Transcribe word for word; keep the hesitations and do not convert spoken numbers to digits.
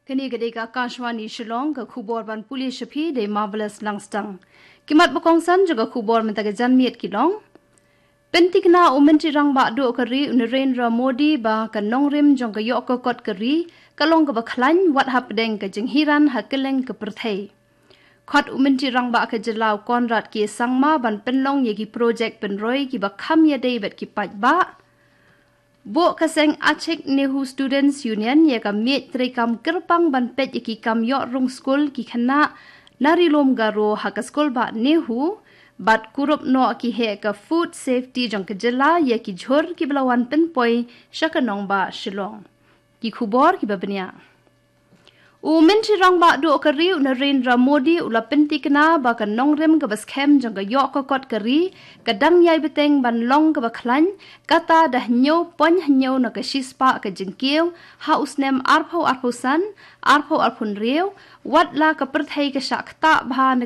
Kane ka dei ka Akashvani Shillong, ka khubor ban pule sha phi da i Marvelous Langstang. Ki mat ba kongsan jong ka khubor mynta ka janmiet ki long: Pynthikna u Myntri Rangbah Duh ka Ri u Narendra Modi ba ka nongrim jong ka ïoh ka kot ka ri ka long kaba khlaiñ wat hapdeng ka jinghiran ha kylleng ka pyrthei. Khot u Myntri Rangbah ka Jylla u Conrad K Sangma ban pynlong ïa ki projek pynroi kiba kham ïadei bad ki paidbah. Buh ka seng Achik Nehu Students Union ïa ka miej treikam kyrpang ban peit ïa ki kam ïoh rung skul ki khynnah na Ri Lum Garo ha ka skul bah Nehu, bad kurup noh ki heh ka food safety jong ka jylla ïa ki jhur kiba la wan pynpoi sha ka nongbah Shillong. Ki khubor kiba bniah. U Myntri Rangbah Duh ka Ri u Narendra Modi u la pynthikna ba ka nongrim kaba skhem jong ka ïoh ka kot ka ri ka dang ïai bteng ban long kaba khlaiñ, kata da hynñiew point hynñiew na ka shispah ka jingkiew ha u snem arphew arphew san, arphew arphew hynriew, wat la ka pyrthei ka shah ktah bha na